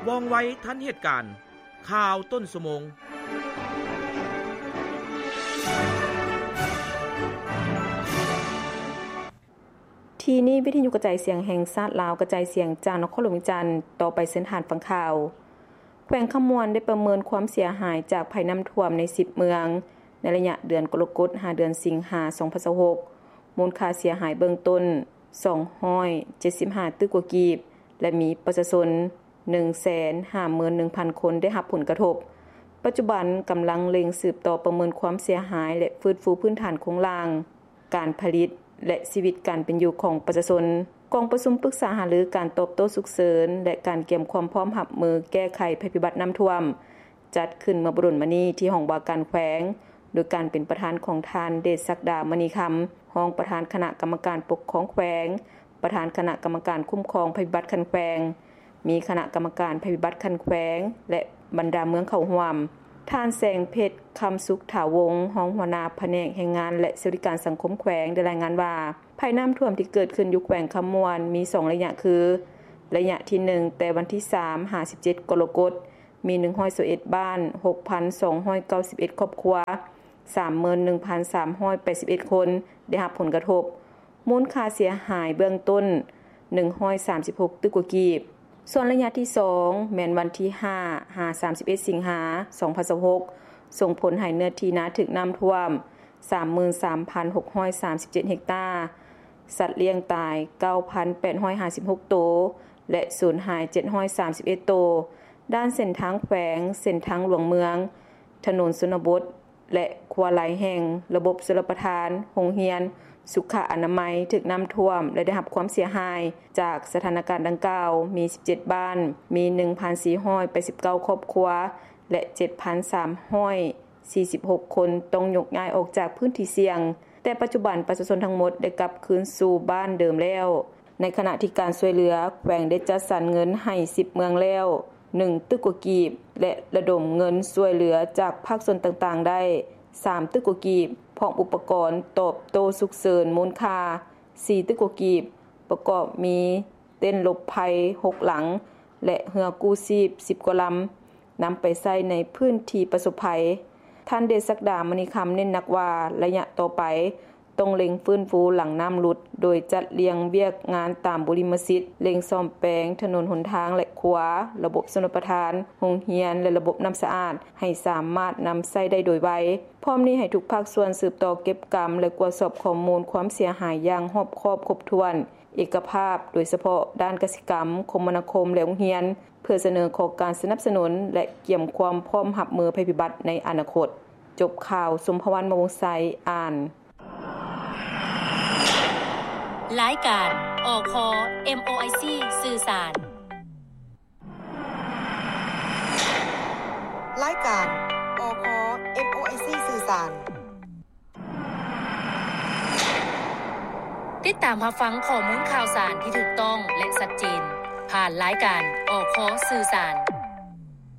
ວ່ອງໄວທັນເຫດການ. ຂ່າວຕົ້ນຊົ່ວໂມງ. ທີ່ນີ້ ວິທະຍຸກະຈາຍສຽງແຫ່ງຊາດລາວ ກະຈາຍສຽງຈາກນະຄອນຫຼວງວຽງຈັນ. ຕໍ່ໄປເຊີນທ່ານຟັງຂ່າວ. ແຂວງຄຳມ່ວນໄດ້ປະເມີນຄວາມເສຍຫາຍຈາກໄພນ້ຳຖ້ວມໃນສິບເມືອງ ໃນໄລຍະເດືອນກໍລະກົດ ຫາເດືອນສິງຫາ ສອງພັນຊາວຫົກ ມູນຄ່າເສຍຫາຍເບື້ອງຕົ້ນ ສອງຮ້ອຍເຈັດສິບຫ້າຕື້ກວ່າກີບ ແລະ ມີປະຊາຊົນ ໜຶ່ງແສນຫ້າໝື່ນໜຶ່ງພັນຄົນໄດ້ຮັບຜົນກະທົບ. ປັດຈຸບັນກຳລັງເລັ່ງສືບຕໍ່ປະເມີນຄວາມເສຍຫາຍ ແລະ ຟື້ນຟູພື້ນຖານໂຄງລ່າງ, ການຜະລິດ ແລະ ຊີວິດການເປັນຢູ່ຂອງປະຊາຊົນ. ກອງປະຊຸມປຶກສາຫາລືການຕອບໂຕ້ສຸກເສີນ ແລະ ການກຽມຄວາມພ້ອມຮັບມືແກ້ໄຂໄພພິບັດນ້ຳຖ້ວມ ຈັດຂຶ້ນເມື່ອບໍ່ດົນມານີ້ທີ່ຫ້ອງວ່າການແຂວງ, ໂດຍການເປັນປະທານຂອງທ່ານ ເດດສັກດາ ມະນີຄຳ, ຮອງປະທານຄະນະກຳມະການປົກຄອງແຂວງ, ປະທານຄະນະກຳມະການຄຸ້ມຄອງໄພພິບັດຂັ້ນແຂວງ, ມີຄະນະກຳມະການໄພພິບັດຂັ້ນແຂວງ ແລະ ບັນດາເມືອງເຂົ້າຮ່ວມ. ທ່ານ ແສງເພັດ ຄຳສຸກຖາວົງ, ຮອງຫົວໜ້າພະແນກແຮງງານ ແລະ ສະຫວັດດີການສັງຄົມແຂວງ ໄດ້ລາຍງານວ່າ ໄພນ້ຳຖ້ວມທີ່ເກີດຂຶ້ນຢູ່ແຂວງຄຳມ່ວນມີສອງໄລຍະຄື ໄລຍະທີໜຶ່ງ ແຕ່ວັນທີສາມຫາສິບເຈັດກໍລະກົດ ມີໜຶ່ງຮ້ອຍຊາວເອັດບ້ານ, ຫົກພັນສອງຮ້ອຍເກົ້າສິບເອັດຄອບຄົວ, ສາມໝື່ນໜຶ່ງພັນສາມຮ້ອຍແປດສິບເອັດຄົນໄດ້ຮັບຜົນກະທົບ, ມູນຄ່າເສຍຫາຍເບື້ອງຕົ້ນ ໜຶ່ງຮ້ອຍສາມສິບຫົກຕື້ກວ່າກີບ. ສ່ວນໄລຍະທີສອງ ແມ່ນວັນທີຫ້າຫາສາມສິບເອັດສິງຫາ ສອງພັນຊາວຫົກ ສົ່ງຜົນໃຫ້ເນື້ອທີ່ນາຖືກນ້ຳຖ້ວມ ສາມໝື່ນສາມພັນຫົກຮ້ອຍສາມສິບເຈັດເຮັກຕາ, ສັດລ້ຽງຕາຍ ເກົ້າພັນແປດຮ້ອຍຫ້າສິບຫົກໂຕ ແລະ ສູນຫາຍ ເຈັດຮ້ອຍສາມສິບເອັດໂຕ. ດ້ານເສັ້ນທາງແຂວງ, ເສັ້ນທາງຫຼວງເມືອງ, ຖະໜົນຊົນນະບົດ ແລະ ຂົວຫຼາຍແຫ່ງ, ລະບົບຊົນລະປະທານ, ໂຮງຮຽນ, ສຸຂະອະນາໄມ ຖືກນ້ຳຖ້ວມ ແລະ ໄດ້ຮັບຄວາມເສຍຫາຍ. ຈາກສະຖານະການດັ່ງກ່າວ ມີສິບເຈັດບ້ານ, ມີໜຶ່ງພັນສີ່ຮ້ອຍແປດສິບເກົ້າຄອບຄົວ ແລະ ເຈັດພັນສາມຮ້ອຍສີ່ສິບຫົກຄົນຕ້ອງຍົກຍ້າຍອອກຈາກພື້ນທີ່ສ່ຽງ, ແຕ່ປັດຈຸບັນປະຊາຊົນທັງໝົດໄດ້ກັບຄືນສູ່ບ້ານເດີມແລ້ວ. ໃນຂະນະທີ່ການຊ່ວຍເຫຼືອ, ແຂວງໄດ້ຈັດສັນເງິນໃຫ້ສິບເມືອງແລ້ວ ໜຶ່ງຕື້ກວ່າກີບ ແລະ ລະດົມເງິນຊ່ວຍເຫຼືອຈາກພາກສ່ວນຕ່າງໆໄດ້ ສາມຕື້ກວ່າກີບ, ພ້ອມອຸປະກອນຕອບໂຕ້ສຸກເສີນມູນຄ່າ ສີ່ຕື້ກວ່າກີບ, ປະກອບມີເຕັນຫຼົບໄພຫົກຫຼັງ ແລະ ເຮືອກູ້ຊີບສິບກວ່າລຳ ນຳໄປໃຊ້ໃນພື້ນທີ່ປະສົບໄພ. ທ່ານ ເດດສັກດາ ມະນີຄຳ ເນັ້ນໜັກວ່າ ໄລຍະຕໍ່ໄປ ຕ້ອງເລັ່ງຟື້ນຟູຫຼັງນ້ຳຫຼຸດ ໂດຍຈັດລຽງວຽກງານຕາມບຸລິມະສິດ, ເລັ່ງສ້ອມແປງຖະໜົນຫົນທາງ ແລະ ຂົວ, ລະບົບຊົນລະປະທານ, ໂຮງຮຽນ ແລະ ລະບົບນ້ຳສະອາດ ໃຫ້ສາມາດນຳໃຊ້ໄດ້ໂດຍໄວ. ພ້ອມນີ້ໃຫ້ທຸກພາກສ່ວນສືບຕໍ່ເກັບກຳ ແລະ ກວດສອບຂໍ້ມູນຄວາມເສຍຫາຍຢ່າງຮອບຄອບຄົບຖ້ວນ, ເອກະພາບ, ໂດຍສະເພາະດ້ານກະສິກຳ, ຄົມມະນາຄົມ ແລະ ໂຮງຮຽນ, ເພື່ອສະເໜີຂໍການສະໜັບສະໜູນ ແລະ ກຽມຄວາມພ້ອມຮັບມືໄພພິບັດໃນອະນາຄົດ. ຈົບຂ່າວ, ສົມພະວັນ ມະວົງໄຊ ອ່ານ. ລາຍການ ອຄ ເອັມໂອໄອຊີ ສື່ສານ. ລາຍການ ອຄ ເອັມໂອໄອຊີ ສື່ສານ. ຕິດຕາມຮັບຟັງຂໍ້ມູນຂ່າວສານທີ່ຖືກຕ້ອງ ແລະ ຊັດເຈນ ຜ່ານລາຍການ ອຄ ສື່ສານ.